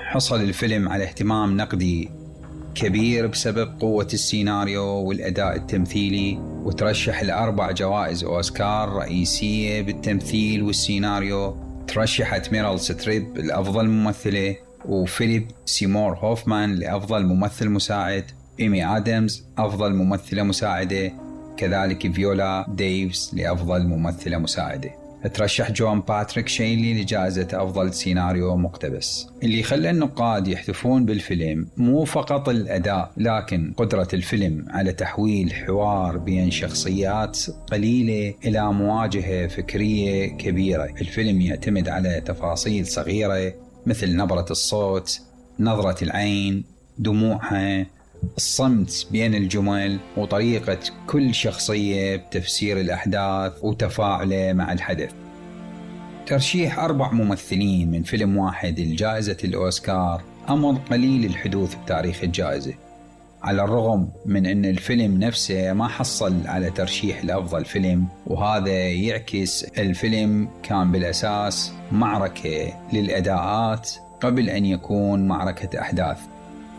حصل الفيلم على اهتمام نقدي كبير بسبب قوة السيناريو والأداء التمثيلي، وترشح ل4 جوائز أوسكار رئيسية بالتمثيل والسيناريو. ترشحت ميريل ستريب لأفضل ممثلة، وفيليب سيمور هوفمان لأفضل ممثل مساعد، إيمي آدمز أفضل ممثلة مساعدة، كذلك فيولا ديفز لأفضل ممثلة مساعدة. ترشح جون باتريك شينلي لجائزة أفضل سيناريو مقتبس. اللي خلى النقاد يحتفون بالفيلم مو فقط الأداء، لكن قدرة الفيلم على تحويل حوار بين شخصيات قليلة إلى مواجهة فكرية كبيرة. الفيلم يعتمد على تفاصيل صغيرة مثل نبرة الصوت، نظرة العين، دموعها، الصمت بين الجمل، وطريقة كل شخصية بتفسير الأحداث وتفاعله مع الحدث. ترشيح 4 ممثلين من فيلم واحد لجائزة الأوسكار أمر قليل الحدوث بتاريخ الجائزة، على الرغم من أن الفيلم نفسه ما حصل على ترشيح لأفضل فيلم، وهذا يعكس الفيلم كان بالأساس معركة للأداءات قبل أن يكون معركة أحداث.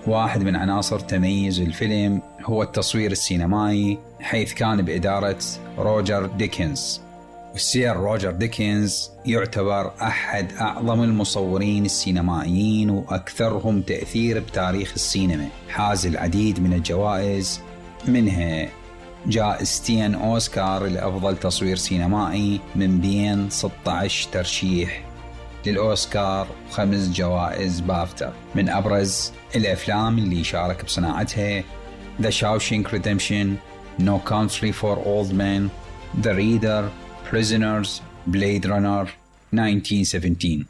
واحد من عناصر تميز الفيلم هو التصوير السينمائي، حيث كان بإدارة روجر ديكنز. والسير روجر ديكنز يعتبر أحد أعظم المصورين السينمائيين وأكثرهم تأثير بتاريخ السينما. حاز العديد من الجوائز، منها جائزتين أوسكار لأفضل تصوير سينمائي من بين 16 ترشيح للأوسكار، و5 جوائز بافتا. من أبرز الأفلام اللي شارك بصناعتها The Shawshank Redemption, No Country for Old Men, The Reader, Prisoners, Blade Runner 1917.